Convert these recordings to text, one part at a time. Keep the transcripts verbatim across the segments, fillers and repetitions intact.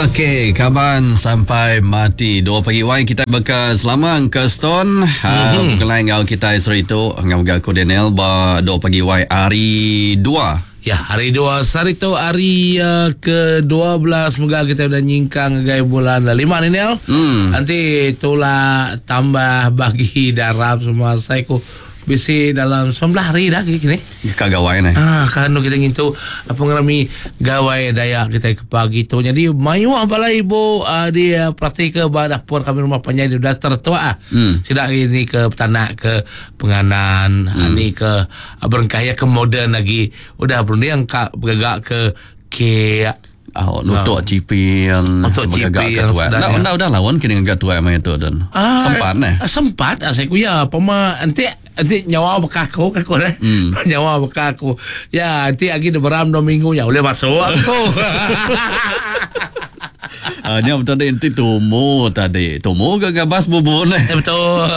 Okey, kaban sampai mati. Dua pagi wai kita beka selama ke Stone. Mm-hmm. Uh, ngau kita seritu ngau aku Daniel ba dua pagi wai hari dua. Ya, hari dua sehari tu hari uh, ke dua belas moga kita udah nyingkang gai bulan lima ni Nel. Mm. Nanti itulah tambah bagi darab semua saya ku bisi dalam sembilan hari dah kini. Ka gawai ni. Ah, kan kita ngintu apa ngerami gawai Dayak kita ke pagi tu. Jadi mayu bala ibu uh, di uh, praktik ke dapur kami rumah panjang di dah tertua ah. Hmm. Sidak ini ke petanak ke penganan, hmm. ni ke uh, berengkaya ke moden lagi. Udah berunding ka bergagak ke ke Oh, nutuk no. ciping, nutuk ciping. Nah, dah dah lawan kini ngagak tuai mai tu dan. Ah, sempat neh. Sempat ah saya kuya pema nanti nanti nyawa bekaku aku deh. Hmm. Nyawa bekaku. Ya, nanti lagi de beram dua minggu ya boleh masuk aku. Ah, ni betul tadi tumu tadi. Tumu ke gabas bubur neh. Betul.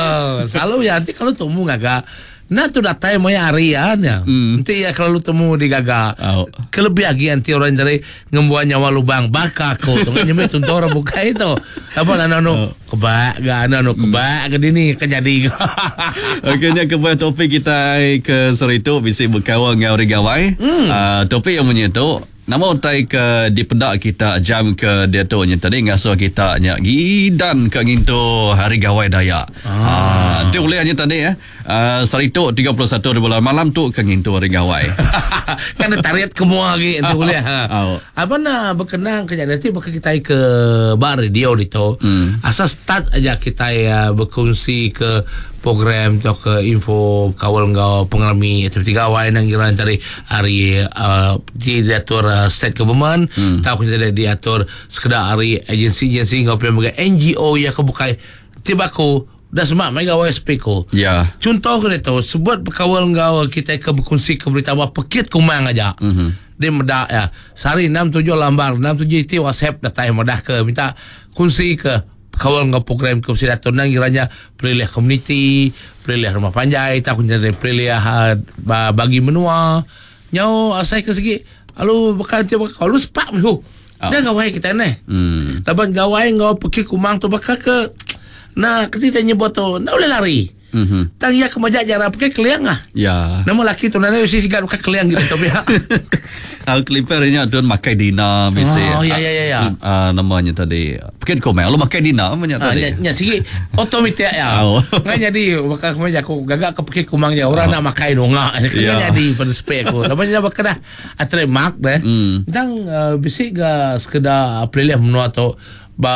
Selalu ya nanti kalau tumu ngagak nah tu datai mau hari ya, ya. Hmm. Nanti ya kalau temu di gagak. Oh. Kelebih lagi nanti orang cari ngembuan nyawa lubang baka aku tu kan nyembe tuntu orang buka itu. Apa nano no oh. Kebak ga nano kebak ke dini kan jadi. Okey ni kebuah topik kita ke seritu bisi berkawan dengan orang gawai. Hmm. Uh, topik yang menyentuh nama utai ke di pedak kita jam ke dia tu nya tadi ngasuh kita nya gidan ke ngintu hari gawai Dayak. Ah, ah tu boleh nya tadi ya. Uh, saritu tiga puluh satu bulan malam tu ke ngintu hari gawai. Kan ada tariat kemua lagi tu boleh. Ha. Oh. Apa nak berkenang ke nanti bakal kita ke bar radio itu. Hmm. Asal start aja kita ya berkongsi ke program atau ke info kawal ngau pengalami aktiviti gawai nang kira cari hari uh, diatur uh, state government hmm. tahu kena diatur sekedar hari agensi-agensi ngau punya bagai N G O yang kebukai tiba aku dah semak mai gawai speko. Ya. Contoh ke tu sebut berkawal ngau kita ke berkongsi ke berita apa pekit kumang aja. Mm-hmm. Dia medak ya. Sehari enam tujuh lambar enam tujuh itu WhatsApp datang medah ke minta kongsi ke kawal ngau program ke datur nang kiranya pelilih komuniti, pelilih rumah panjai, tak kunci dari pelilih uh, bagi menua. Nyau asai ke segi alu bakal tiap kalau sepak mihu. Oh. Dia gawai kita ni. Hmm. Laban gawai ngau pergi kumang tu bakal ke nah ketika nyebut tu nak boleh lari. Mm-hmm. Tang ya kemajak jarang pakai keliang ah. Ya. Nama laki tu nana usi sigat pakai keliang gitu tapi ya. Al clipper nya tuan makai dina bisi. Oh ya ya ya ya. Uh, namanya tadi. Pekit komen lu makai dina namanya ah, tadi. Nya, nya sigi otomatik ya. Oh. Ngan jadi bakal kemajak aku gagak ke pekit kumang ya orang oh. nak makai nongak. Kena Ya. jadi pada spek aku. Namanya bakal dah trademark deh. Mm. Tang uh, bisi ga sekedar pelilih menua tu ba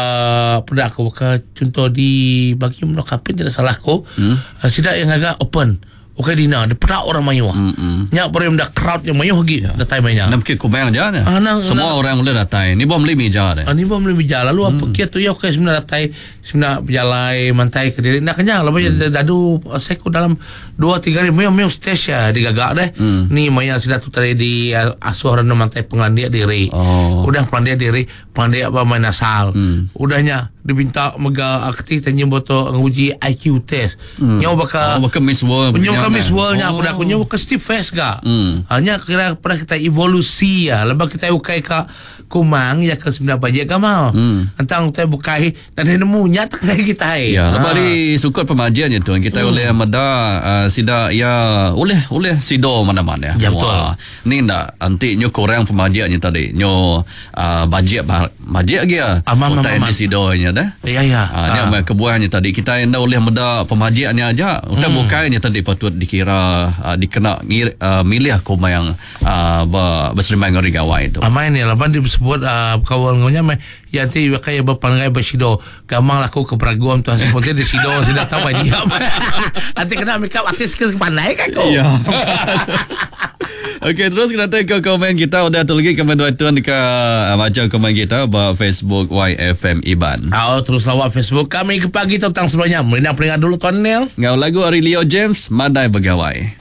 pedak aku ke contoh di bagi menua kapin tidak salah aku Hmm. uh, sidak yang agak open okey dina dia pedak orang mayu Hmm. nyak baru dah crowd yang mayu lagi Ya. datai mainnya Nak pekit kumang aja ni. Ah, nak- Semua nak- orang boleh datang. Ni bom beli meja deh. Ah, ni bom beli meja lalu hmm. apa kia tu ya okey sebenarnya datai sebenarnya berjalai mantai ke diri nak kenyang lepas hmm. dadu saya ku dalam dua tiga hari mayu mayu stage ya digagak deh Hmm. ni maya sudah tu tadi di uh, asuh orang mantai pengelandia diri Oh. udah pengelandia diri pengelandia apa main asal Hmm. udahnya dibinta mega akti tanya boto nguji I Q test Hmm. nyawa bakal Oh, bakal Miss World. Nyawa punya kami kan? World-nya Oh. oh. aku nyawa ke Steve Fest ga. Hmm. Hanya kira pernah kita evolusi ya. Lepas kita ukai ka kumang ya ke sembilan bajet kamal. Hmm. Entang utai bukai dan dia nemu nya tak kita. Ya, Ha. lepas di sukut pemajian je tuan kita hmm. oleh meda uh, sida ya oleh oleh sido mana-mana Ya, betul. Wah, ni ndak anti nyo kurang pemajian je tadi. Nyo uh, bajet bajet lagi ya. Amam, Utai amam, di sido nya dah. Ya ya. Ha, ni ah. kebuahannya tadi kita ndak oleh meda pemajiannya aja. Utai hmm. bukainya tadi patut dikira uh, dikena ngir, uh, milih kumang uh, ber, berserimai dengan gawai itu. Amai ni laban dia sebut uh, kawal ngonya mai ya nanti kaya berpangai bersido gamang laku ke peraguan tu hasil di sido sudah tahu dia. Nanti kena make up artis ke pandai kan kau. Ya. Okey, terus kita ke komen kita. Udah tu lagi komen dua tuan ke uh, baca komen kita ba Facebook Y F M Iban. Oh, terus lawak Facebook kami ke pagi tentang sebelumnya. Merindang peringkat dulu Tuan Neil. Ngau lagu Ari Leo James, Madai Begawai.